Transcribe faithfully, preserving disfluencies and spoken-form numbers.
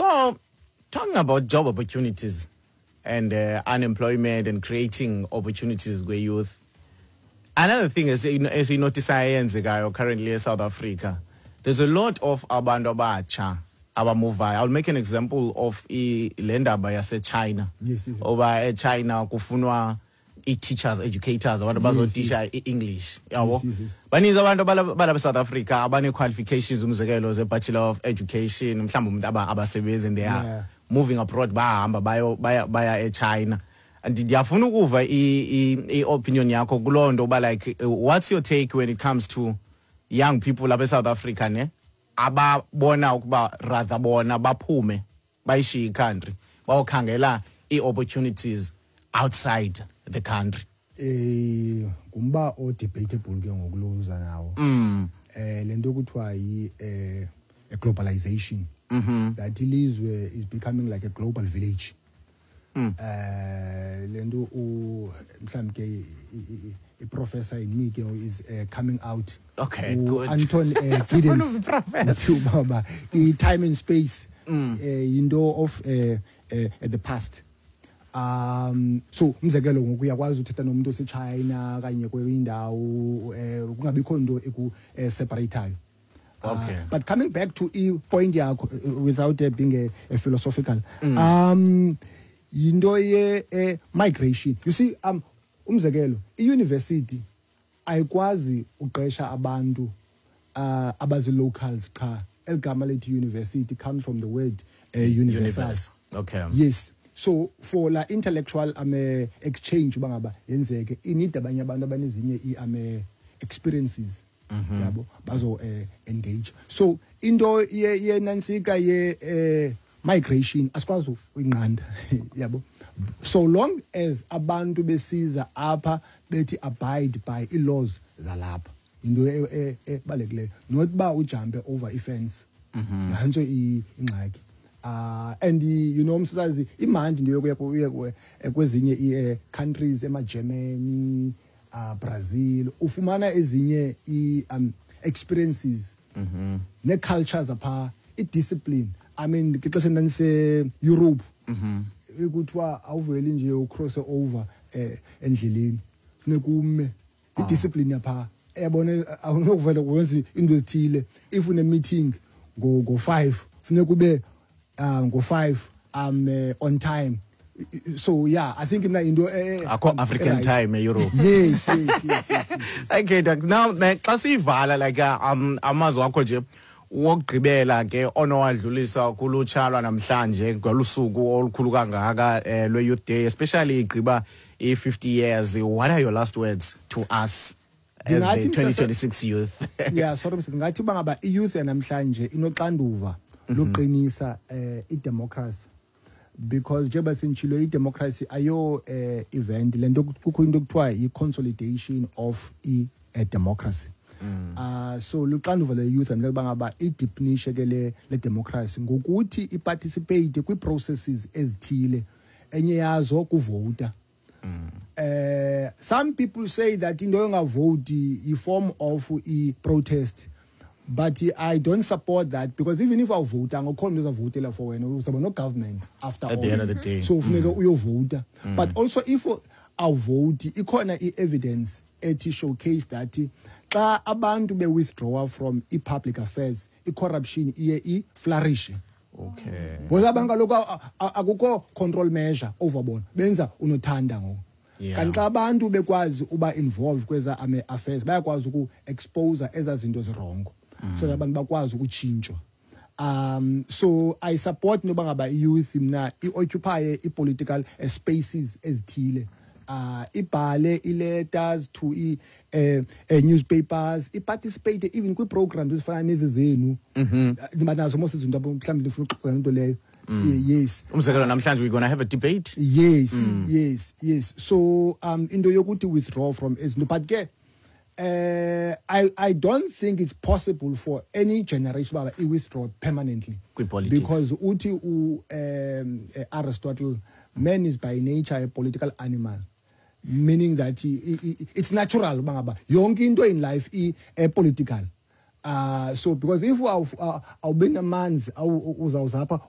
So, talking about job opportunities and uh, unemployment and creating opportunities for youth. Another thing is esinotice eyenzekayo currently in South Africa. There's a lot of abantu abatsha abamuvayo. I'll make an example of i- le ndaba yase-China. Yes, yes. Oba eChina kufunwa i-teachers, educators, abantu bazotisha i-English. Yabo. Yes, yes, yes. Baninzi abantu abala- balapha eSouth Africa abane-qualifications umzekelo ze-Bachelor of Education, mhlawumbe umuntu aba- abasebenzi and they are Yeah. moving abroad bahamba bayo baya baya eChina. And ndiyafuna ukuva i- i- i-opinion yakho kuloo nto uba like uh, what's your take when it comes to young people lapha eSouth Africa ne ababona ukuba rather bona baphume bayishiye i-country bayokhangela ii-opportunities outside the country eh ngumba o debatable ke ngokuloza nawo mm. eh lento kuthiwa yi eh a globalization Mhm. that ilizwe is becoming like a global village Mm. eh lento u mhlawumbe ke i- i- i professor in me ke is uh, coming out Okay, U- good. Anton uh, Sifuna Giddens ubuprofessor. uthi ubaba i time and space Mm. eh into of eh eh, the past um so umzekelo ngoku uyakwazi uthetha nomuntu oseChina kanye kwenye indawo eh kungabikho into eku eh, separateayo Okay. Uh, but coming back to i point yakho uh, without uh, being a, a philosophical mm. um yinto ye eh, migration you see um umzekelo i-university ayikwazi uqesha abantu uh, abazi locals qha eligama lethi university comes from the word uh, universal Universe. Okay. yes so for la intellectual um exchange bangaba yenzeke i-need abanye abantu abanezinye i um experiences yabo bazo eh, engage so into ye yenansika ye eh, migration asikwazi uyinqanda yabo so long as abantu besiza apha bethi abide by i-laws zalapha into e- e- ebalulekileyo not ba ujumpe over i-fence nantso i- ingxaki uh and i- you know msasazi imandi into yokuya ku- uye ku- eh, kwezinye i- eh, countries ema-Germany uh Brazil ufumana ezinye i um experiences ne-cultures apha i-discipline i mean ngexesha ndandise-Europe ekuthiwa awuveli nje ucross over eh endleleni funeka ume i-discipline yapha yabona awunokuvela kwenza into ezithile if une meeting ngo ngo five funeka ube uh, ngo five um uh, on time so yeah i think mina into eh, Akho um, African right. time eEurope. yes yes yes, yes, yes. Okay, Doc. Now ne, xa siyivala like uh, um amazwi akho nje wokugqibela ke onowadlulisa kulutsha lwanamhlanje ngolusuku olukhulu kangaka eh, lwe-Youth Day especially igqiba i-fifty years what are your last words to us as the Ndingathi msasa- twenty twenty-six youth yeah sorry mr ngathi uba ngaba i-youth yanamhlanje inoxanduva loqinisa eh i-democracy because njengoba senditshilo i-democracy ayo eh event lento kukho into ekuthiwa yi-consolidation of i-democracy uh so luxanduva le-youth and uba ngaba ideepenishe ke le le democracy ngokuthi iparticipate kwii-processes ezithile enye yazo kuvota eh some people say that into yongavoti i form of i protest but i don't support that because even if awuvota angekho umuntu ozavotela for wena uzaba no government after At all the end of the day. so ufuneka uyovota but also if awuvoti ikhona i-evidence ethi showcase that xa abantu be-withdraw from i-public affairs i-corruption iye i-flourish okay because abantu kaloku a- a- akukho control measure over bona benza unothanda ngoku Yeah. kanti xa abantu bekwazi uba involved kweza ame affairs bayakwazi uku-expose ezaa zinto zirongo so that abantu bakwazi ukutshintshwa um so i support noba ngaba i-youth mna i-occupy i-political eh, spaces ezithile uh ibhale i-letters to i eh, eh, newspapers iparticipate even kwii-programs ezifana nezi zenu ndiba nazo mos izinto apho mhlawumbi ndifuna uxoxa ngento leyo yes umzekelo namhlanje we're gonna have a debate yes yes yes so um into yokuthi withdraw from ezinto but ke eh i i don't think it's possible for any generation baba i withdraw permanently Kwi-politics. because uthi u um eh, Aristotle man is by nature a political animal meaning that i- i- i- it's natural uba ngaba yonke into in life i eh, political uh so because if awu- awubi namanzi awu- uzawuzapha